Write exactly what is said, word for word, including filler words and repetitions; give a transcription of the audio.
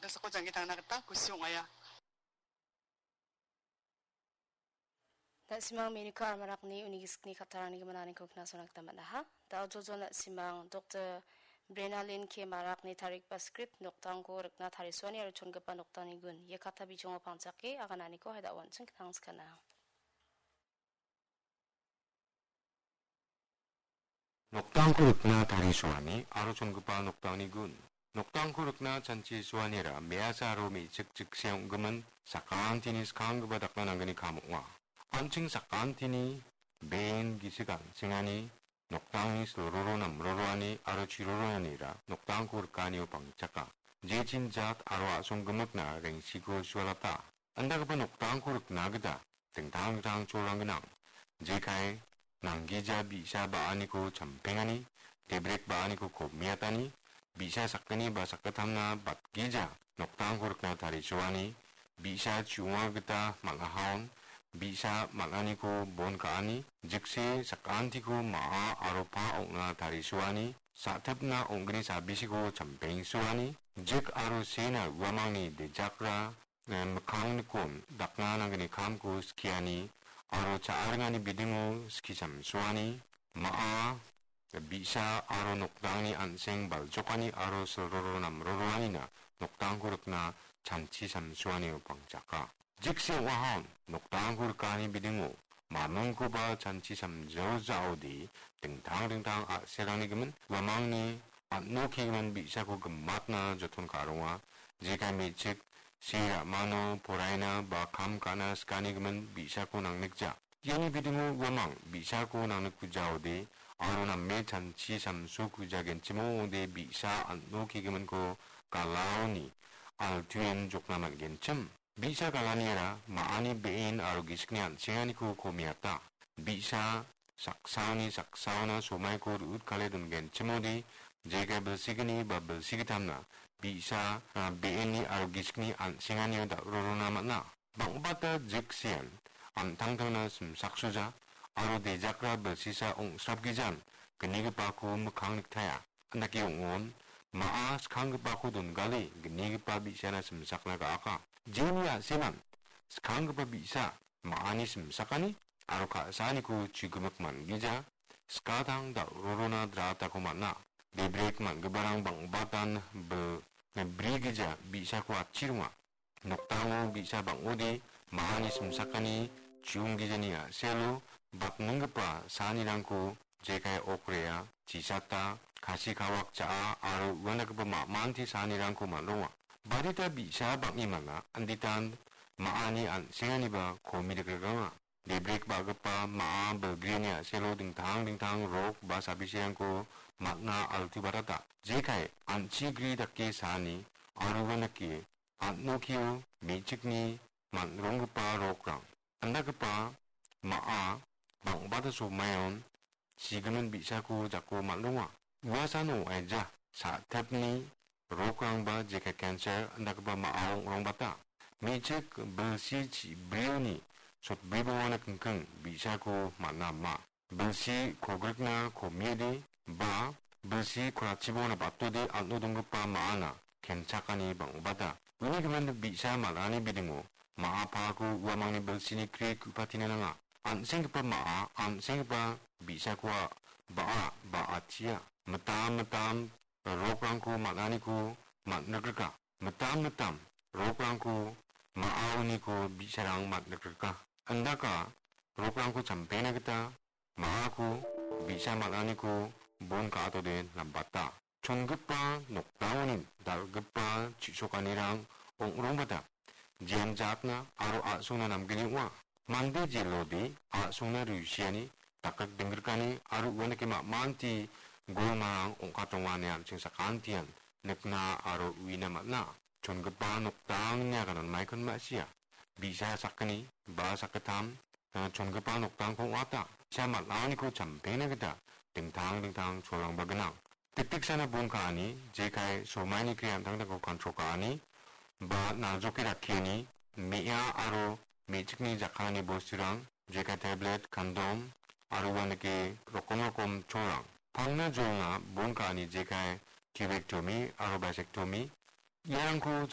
Kosako jangki tangna gita kusi ong·aia. Na·simang me·nika almarakni uni gisikni kattarangni gimin aniko knasona gita man·aha. Da·o jojo na·simang Doktor Brenalin K Marakni tarigipa skrip noktangko rikna tarisoani aro chongipa noktangni gun. Ia katta bijongo pangchake agananiko haida uanching knang skana. Noktangko rikna tarisoani aro chongipa noktangni gun. Noktangko rikna chanchisoanira me·asa aro me·chik jikse ong·gimin sakantini skanggipa dakna nanggni kam ong·a. An·ching sakantini be·en gisik an·sengani noktangni silroro namroroani aro chiroroanira noktangko rikanio pangchaka. Jechin jat aro a·song gimikna rengsiko sualata. Andagipa noktangko rikna gita dingtang dingtang cholrang gnang. Jekai nanggija bi·sa ba·aniko champengani, debrek ba·aniko komiatani, bi·sa sakgni ba sakgittamna batgija noktangko rikna tarisoani, bi·sa chu·onga gita man·ahaon, bi·sa man·aniko bon ka·ani, jikse sakantiko ma·a aro pa ong·na tarisoani, sa·tipna ong·gni sabisiko champengsoani, jik aro sena uamangni dejakra eh, mikkangnikon dakna nanggni kamko skiani aro cha·aringani bidingo skisamsoani, ma·a, bi·sa aro noktangni an·seng baljokani aro silroro namroroanina noktangko rikna chanchi samsoanio pangchaka. Jikse ong·ahon noktangko rikani bidingo mamingkoba chanchi samjaojaode dingtang dingtang a·serangni gimin uamangni an·o kegimin bi·sako gimatna joton ka·ronga. Jekai me·chik se ra·mano poraina ba kam ka·na skanigimin bi·sako nangnikja. Iani bidingo uamang bi·sako nangnikkujaode aro name chanchi samsokujagenchim ong·ode bi·sa an·o kegiminko galaoni altuen jokna man·genchim. Bi·sa galaniara ma·ani be·en aro gisikni an·senganiko komiata. Bi·sa saksaoni saksaona somaiko ru·utkale dongenchimode, jekai bilsigni ba bilsigitamna bi·sa, a, be·enni aro gisikni an·senganio dal·rorona man·a. Bang·bata jiksean an·tangtangna simsaksoja aro dejakra bilsisa ong·srapgijan gnigipako mikkang niktaia. Andake ong·on, ma·a skanggipako dongale gnigipa bi·sana simsakna ga·aka. Jeni a·seman skanggipa bi·sa ma·ani simsakani aro ka·saaniko chigimik man·gija, skatang dal·rorona dratako man·a. Debrek man·giparang bang·batan bil-, brigija bi·sako atchironga. Nokdango bi·sa bang·ode ma·ani simsakani chiunggijani a·selo batninggipa saanirangko jekai okrea, chisata, kasi kawak cha·a aro uandagipa ma·manti saanirangko man·ronga. Barita bi·sa bang·e man·a, inditan ma·ani an·senganiba komi dikrikranga. Debrek ba·gipa ma·a bilgrini a·selo dingtang dingtang rok ba sabisirangko man·a altu barata. Jekai an·chi gri dake saani aro uanike an·okio me·chikni man·ronggipa rokrang. Andagipa ma·a bang·bata somaion sigimin bi·sako jako man·ronga. Uasano aija sa·tepni rokrangba jekai cancer andagipa ma·a ong·rongbata. Me·chik bilsi chi-, brioni sotbribongana kingking bi·sako man·a ma. Bilsi kogrikna komiede ba bilsi korachibona batode an·o donggipa ma·ana kenchakani bang·obata. Uni gimin bi·sa mal·ani bidingo ma·a pako uamangni bilsini kri ku·patina nanga. An·senggipa ma·a, an·senggipa bi·sakoa ba·a, ba·achia. Mitam mitam rokrangko mal·aniko man·rikrika. Mitam mitam rokrangko ma·aoniko bi·sarang man·rikrika. Indaka rokrangko champengna gita ma·ako bi·sa mal·aniko bon ka·atode nambata. Chongipa nokdangoni dal·gipa chi·sokanirang ong·rongbata. Jian jatna aro a·songna namgni ong·a. Mande jelode a·songna rusiani, dakrik dinggrikani aro uanike ma·manti golmarang ong·katronga ine an·ching sakantian nikna aro uina man·a. Chongipa nokdangni agananmaikon ma·sia. Bi·sa sakgni ba sakgittam, eh, chongipa nokdangko ong·ata. Bi·sa mal·aniko champengna gita dingtang dingtang cholrangba gnang. Tiktiksana bon ka·ani, jekai somaini kri an·tangtangko kontrol ka·ani, ba naljoke rakkiani, me·a aro me·chikni jakkalani bosturang, jekai tablet, kondom, aro uanike rokom rokom cholrang. Pangna jolna bon ka·ani jekai tubektomi aro basektomi, iarangko